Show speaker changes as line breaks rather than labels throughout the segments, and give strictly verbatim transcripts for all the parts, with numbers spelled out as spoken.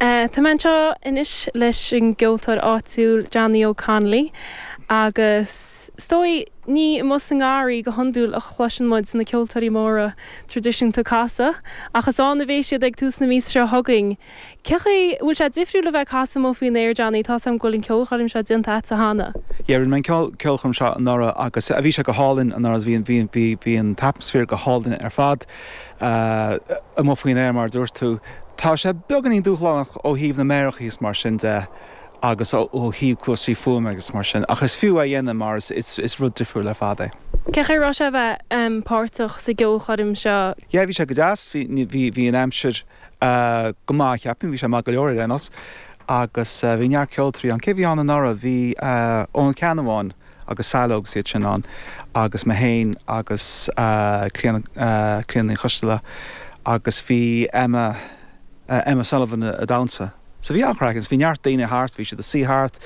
Tá mé anseo anois leis an gceoltóir áitiúil Johnny O'Connolly agus is dóigh ní amuigh sa ngarraí go hiondúil a chloiseann muid na ceoltóirí móra traidisiúnta ag casadh, ach is ann a bheidh siad ag tús na míosa seo chugainn. Cé chaoi bhfuil sé difriúil a bheith ag casadh amuigh faoin aer Johnny tá am go bhfuil an ceolchoirm seo déanta agat cheana.
Yeah rinne mé an ceolchoirm seo anuraidh agus a bhí sé go hálainn anuraidh bhí bhí bhí bhí an t-atmaisféar go hálainn ar fad amuigh faoin aer mar dúirt tú. Tá sé beagáinín dúshlánach ó thaobh na méaracha is mar sin de agus ó thaobh cúrsaí fuaime agus mar sin, ach is fiú é a dhéanamh mar is, is, is rud difriúil ar fad é.
Cé chaoi raibh sé a bheith páirteach sa gceolchoirm seo?
Yeah, bhí sé go deas, bhí bhí bhí an aimsir uh, go maith ceapaim, bhí sé maith go leor ar aon nós agus uh, bhí neart ceoltóirí ann cé bhí ann anuraidh bhí uh, Eoin Ceannabháin agus Saileog iad sin ann agus mé féin agus uh, Clíona uh, Clíona Choisteala agus bhí Emma uh, Emma Sullivan ag damhsa. So bhí an-chraic bhí neart daoine thart, bhí siad ag suí thart,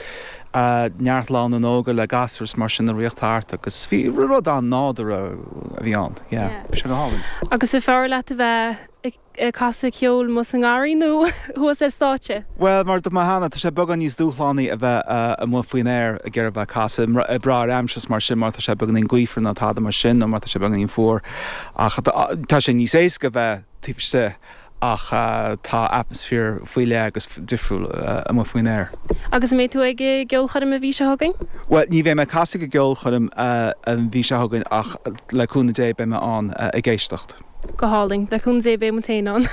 uh, neart lánúin óga le gasúir mar sin ag rith thart agus bhí rud an-nádúrtha a bhí ann sé go hálainn.
Agus is fearr leat a bheith ag casadh ceoil amuigh sa ngarraí nó thuas ar stáitse?
Well mar do cheana tá sé beagán níos dúshlánaí a bheith uh, amuigh faoin aer ag iarraidh bheith casadh ag brath ar aimsir mar sin mar tá sé beagáinín gaofar nó tada mar sin nó mar tá sé beagáinín fuar ach tá sé níos éasca bheith taobh istigh ach uh, tá atmaisféar faoi leith agus difriúil uh, amuigh faoin aer.
Agus mbeidh tú ag ceolchoirm an mhí seo chugainn?
Well, ní bheidh mé ag casadh ag ceolchoirm uh, an mhí seo chugainn ach le cúnamh Dé beidh mé ann uh, ag éisteacht.
Go hálainn le cúnamh Dé beidh mé féin ann.